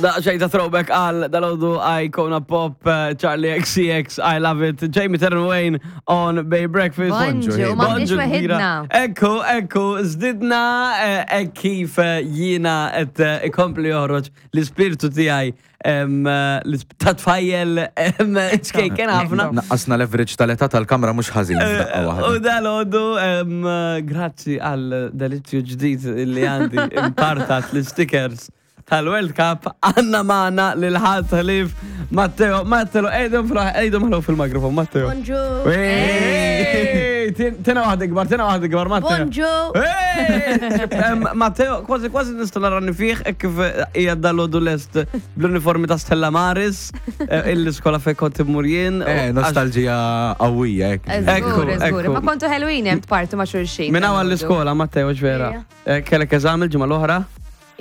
Daqxej ta' throwback għal dal-għodu Icona Pop, eh, Charlie XCX, I love it, Jamie Terran Wayne on Bay Breakfast. Bonġu, Bonġu m'aħniex kbira. weħidna. Ekku, ekku, zdidna eh, hekk kif eh, jiena qed eh, ikompli joħroġ l-ispirtu tiegħi em, eh, l-isp- ta' tfajjel em, ċkejken ħafna. Naqqasna leverage tal-età tal-kamra mhux ħażin f'daqqa U waħda. dal-għodu, em, grazzi għal delizzju ġdid li għandi impartat l-stickers tal-World Cup għanna maħna l-ħat ħlif Matteo, Matteo, ejdum fraħ, ejdum ħlu fil-mikrofon, Matteo. Bonġu. Ej, Tina waħda kbar, tina waħda kbar, Matteo. Bonġu. Ej, em, Matteo, kważi kważi nista' narani fih hekk kif hija dal-għodu lest bl-uniformi ta' Stella Maris, eh, il-iskola fejn kont immur jien. Eh, nostalġija qawwija hekk. Ekku, Żgur, żgur. ekku. Ma kontu ħelwin hemm tpartu ma' xulxin. Minna għall-iskola, Matteo, ġvera. Ija. Eh, Kellek eżami l-ġimgħa l-oħra?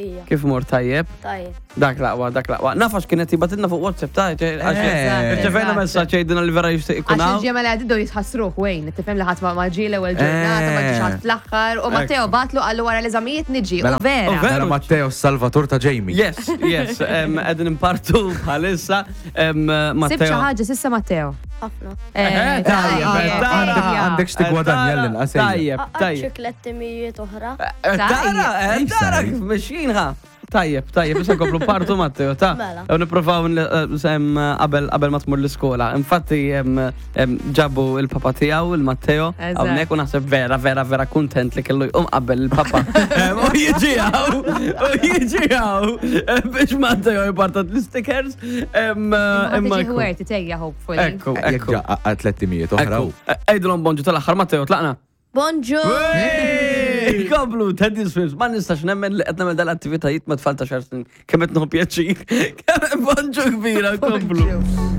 Ija, Kif mor tajjeb? tajjeb. Dak laqwa, dak laqwa. Nafax kienet jibatilna fuq WhatsApp ta' Eh. Irċevejna messaġġ jgħidilna li vera jixtieq ikun Għax hawn. il-ġimgħa li għaddiet jitħassruh Wayne, tifhem li ħadd ma ma ġie l-ewwel ġurnata, ma ġiex ħadd fl-aħħar, u Matteo batlu qallu wara l-eżamijiet niġi. U Mela- U vera. vera. Mela Matteo Salvator ta' Jamie. Yes, yes, em, qegħdin impartu bħalissa. em, Sib xi Matteo. ħaġa sissa Matteo. Ħafna. Eh, tajjeb, tajjeb, tara. tajjeb. Għandek x'tigwadanja l-inqas. ejja. Tajjeb, tajjeb. Xi tliet oħra. Eh, Tara, eh, tara kif mexjin ħa. Tajjeb, tajjeb, issa nkomplu partu Matteo, ta' Mela. U niprofaw n- sem qabel qabel ma tmur l-iskola. Infatti em, em, ġabu il-papa tiegħu il-Matteo Eżatt. hawnhekk u naħseb vera vera vera kuntent li kellu jqum qabel il-papa. Em, U jiġi hawn, u jiġi hawn eh, biex Matteo jpartat l-stickers. em, Ma Imma tiġi ekku. ħwerti tejja hopefully. Ekku, Jekk ekku. ġa 300 oħra. Ekku. Ejdulhom bonġu tal-aħħar Matteo, tlaqna. Bonġu. Hey! Komplu, Teddy Swims, ma nistax nemmen li qed nagħmel dal-attivitajiet ma tfal ta' xar snin. Kemm qed nieħu pjaċir. Kemm bonġu kbira, komplu. Bonġu.